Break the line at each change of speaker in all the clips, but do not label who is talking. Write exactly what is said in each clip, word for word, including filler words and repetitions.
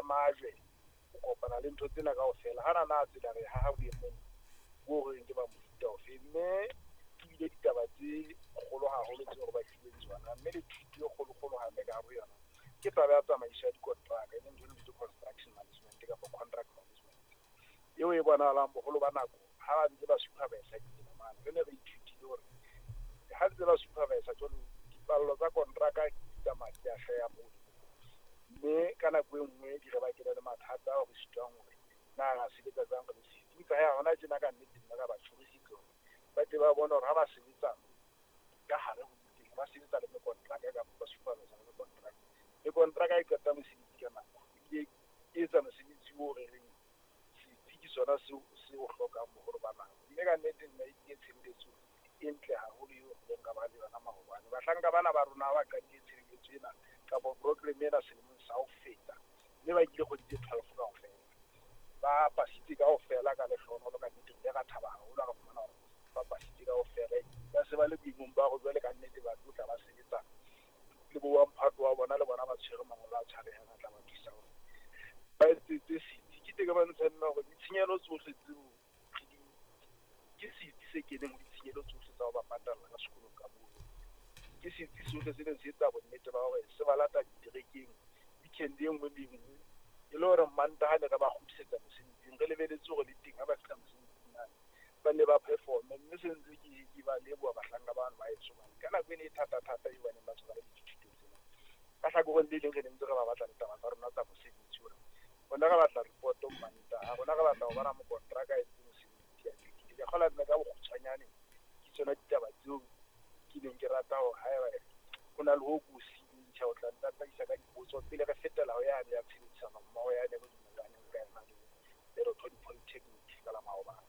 majwe, o kopana le ntho tsena kaofela. Hana na tsela re haha boemong bo reng ke ba mofuta ofe, mme ebile ditaba tse kgolo haholo tseo re ba fileng tsona, mme le thuto e kgolokgolo hape ka hare ho yona ke taba ya tsamaiso ya dikontraka, e leng ntho e bitswang construction management kapa contract management, eo e bonahalang boholo ba nako ha ba ntse ba supervise ditsela mane. Re ne re ithutile hore ha ntse ba supervise jwalo, dipallo tsa kontraka di tsamaya di a hlaha moo, mme ka nako e nngwe di re bakela le mathata ao re sitwang hore na ra sebetsa jwang re le setsi. Empa hee hona tjena ka nnete nna ka ba tjhorisitse hore ba tle ba bone hore ha ba sebetsa ka hare ho ditsela, ba sebetsa le mekontraka kapa ba supervise le mekontraka. Mekontraka e qeta mosebetsi ka nako, ebile e etsa mosebetsi oo re reng setsi ke sona seo se o hlokang boholo ba nako. Mme ka nnete nna ebile tshebeletso e ntle haholo eo re ileng ra ba le yona maobane. Bahlanka bana ba rona ba qadile tshebeletso ena kapa program ena selemong sa ho feta, mme ba kile kgwedi tse twelve kaofela, ba pasitse kaofela ka lehlohonolo. Ka nnete re ile ra thaba haholo ha re fumana hore ba pasitse kaofela, ba se ba le boemong ba hore jwale ka nnete ba tlo tla ba sebetsa le bo wa mphato wa bona, le bona ba tshwere mangolo a tshwarehang a tla ba thusa hore ba etsetse setsi. Ke teng ka ba ntsha nna hore ditshenyehelo tsohle tseo re di ke setsi se keneng ho ditshenyehelo tsohle tsa ho ba patalla ka sekolong ka moo. Ke setsi sohle se neng se etsa bonnete ba hore se ba lata diterekeng weekend e nngwe le e nngwe, e le hore Mantaha ne re ba kgutlisetsa mosebetsing, re lebeletse hore le teng ha ba fihla mosebetsing mane ba ne ba perform-e. Mme se ntse ke ke ba leboha bahlanka bano ba heso hobane ka nako ene e thata-thata eo ba neng ba tshwara le dithuto tsena. Ka hlakoreng le leng re ne ntse re ba batla ditaba tsa rona tsa mosebetsi hore rona re batla report-o Mantaha, rona re batla ho bona mokontraka a entse mosebetsi a qetile. Ke kgolwa nna ka bokgutshwanyane ke tsona ditaba tseo ke neng ke rata hore haeba ho na le ho ko siileng tjhe, o tla ntataisa ka dipotso pele re fetela ho yane ya tshebedisano mmoho yane re dumellaneng ka yona le Lerothodi Polytechnic ka la maobane.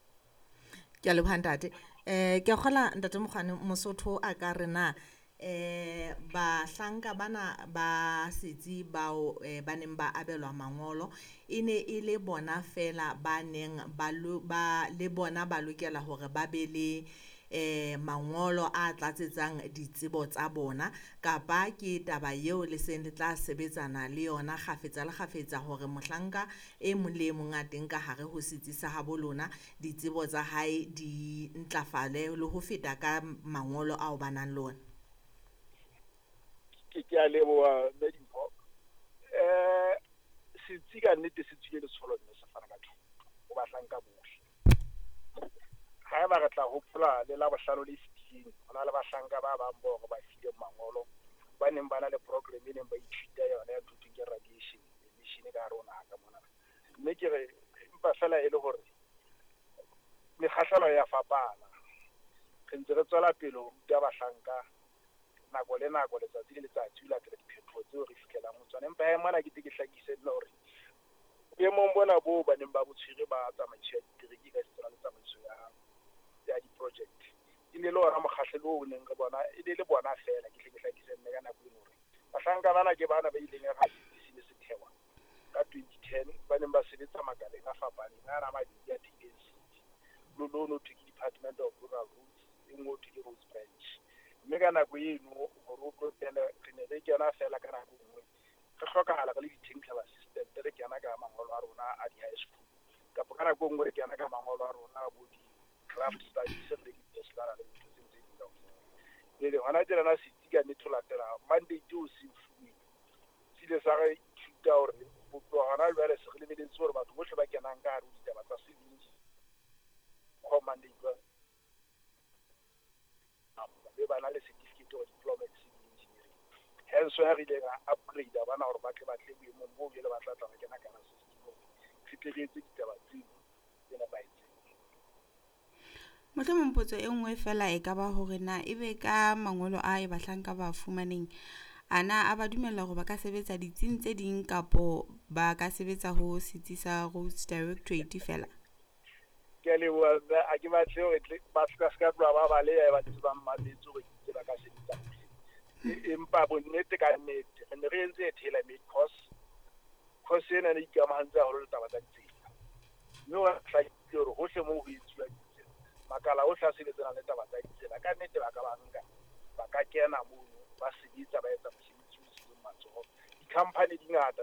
Ke a leboha ntate. Eh ke a kgola ntate Mokgwane, Mosotho a ka re na eh bahlanka bana ba setsi bao eh, ba neng ba abelwa mangolo e ne e le bona fela ba neng ba lo ba le bona ba lokela hore ba be le eh mangolo a tlatsetsang ditsebo tsa bona, kapa ke taba eo le seng le tla sebetsana le yona kgafetsa le kgafetsa hore mohlanka e mong le e mong a teng ka hare ho setsi sa habo lona ditsebo tsa hae di ntlafale le ho feta ka mangolo ao ba nang le ona?
Ke ke a leboha mme Dimpho. Eh setsi ka nnete se tswile letsholo mme se fana ka thuto ho bahlanka bohle. Haeba re tla hopola le Labohlano le fetileng, ho na le bahlanka ba bang bao re ba fileng mangolo, ba neng ba na le program e neng ba ithuta yona ya ntho thweng ke radiation emission ka hare ho naha ka mona. Mme ke re empa feela e le hore mekgahlelo ya fapana. Re ntse re tswela pele ho ruta bahlanka nako le nako, letsatsi le letsatsi, ho latela diphetoho tseo re fihlelang ho tsona. Empa hee mona ke tle ke hlakise nna hore boemong bona boo ba neng ba bo tshwere ba tsamaiso ya ditereke ka setsana le tsamaiso ya ya di-project, e ne le ona mokgahlelo oo neng re bona e ne le bona feela. Ke tle ke hlakise nne ka nako eno hore bahlanka bana ke bana ba ileng ha setsi se ne se thehwa ka twenty ten, ba neng ba sebetsa makaleng a fapaneng ana a mabedi a thehileng setsi. Lo lo thwe ke Department of Rural Roads, e nngwe ho thwe ke Roads Branch. Mme ka nako eno hore o tlo kene, re ne re kena feela ka nako e nngwe re hlokahala re le di-technical assistant, re kena ka mangolo a rona a di-high school, kapa ka nako e nngwe re kena ka mangolo a rona a bo di-craft studies, re le di-bachelor le dintho tseo tse ding kaofela. Jwale hona tjenana setsi ka nnete ho latela mandate o se fuweng, se ile sa re ithuta hore ho tloha hona jwale se re lebeletse hore batho bohle ba kenang ka hare ho ditaba tsa civil engineering mandate wa be ba na le certificate or diploma in civil engineering. Hence why re ile ra upgrade bana hore ba tle ba tle boemong boo jwale ba tla tla ba kena ka hara system hore re tle re etse ditaba tseo tse nepahetseng.
Mohlomong potso e nngwe fela e ka ba hore na ebe ka mangolo a e bahlanka ba fumaneng, ana a ba dumella hore ba ka sebetsa ditsing tse ding kapo ba ka sebetsa ho setsi sa Roads Directorate fela?
Ke a leboha mme, ha ke batle hore tle ba ska ska tloha ba baleha ba ntse ba mmametse hore ke itse ba ka sebetsa hohle. Empa bonnete ka nnete re ne re entse tailor made course. Course ena ne ikamahantse haholo le taba tsa ditsela, mme wa hlakile hore hohle moo ho etsuwang ditsela, makala ohle a sebetsanang le taba tsa ditsela ka nnete ba ka ba nka, ba ka kena mono ba sebetsa, ba etsa mosebetsi o tswileng matsoho. Di-company di ngata